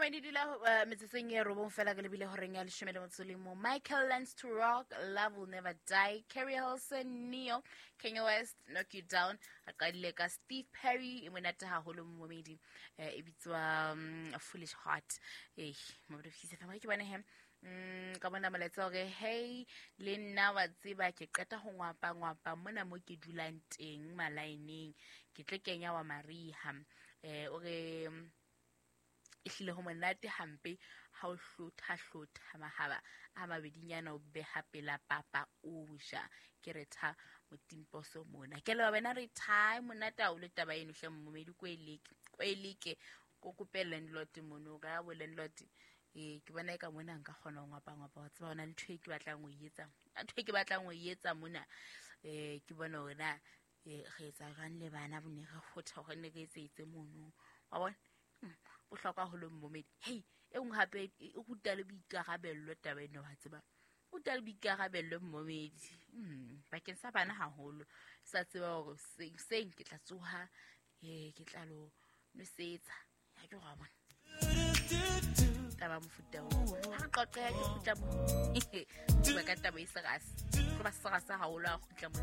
Momedi dula metsotsong e robong fela ke lebile horeng ya leshome le motso le mong. Michael Learns to Rock, Love Will Never Die, Kerry Hilson, Neo, Kanye West, Knock You Down. Re qadile ka Steve Perry, e monate haholo momedi, e bitswa Foolish Heart. Eh, momedi fisa fela ke bone he. Ka bona molaetsa hore hey le nna wa tseba ke qeta ho ngwapa ngwapa mona mo ke dulang teng malaeneng ke tle kenya wa mariha. O re ehlile ho monate hampe ha o hlotha hlotha mahaba a mabedinyana o beha pela papa o ja. Ke re tha motimposo mona. Ke leboha wena re tha monate ha o le taba eno hle momedi ko e leke, ko e leke, ko kope landlord mono, ka bo landlord. Ke bona eka mona nka kgona ho ngwapa ngwapa, wa tseba hona le ntho e ke batlang ho e etsa. Ntho e ke batlang ho e etsa mona. Ke bona hore na re etsa jwang le bana bo ne re kgotha hore ne re etse mono. Wa bona? Bohlokwa haholo momedi. Hey, e nngwe hape e ruta le boikarabello taba ena wa tseba. Ruta le boikarabello momedi. Bakeng sa bana haholo. Sa tseba hore seng ke tla tsoha, ke tla lo nwesetsa. Ha ke wa bona. Taba mofuta oo. Ha re qoqe, ha ke kgutla mo. Bua ka taba e serase. Tlo ba serase haholo ha kgutla mo.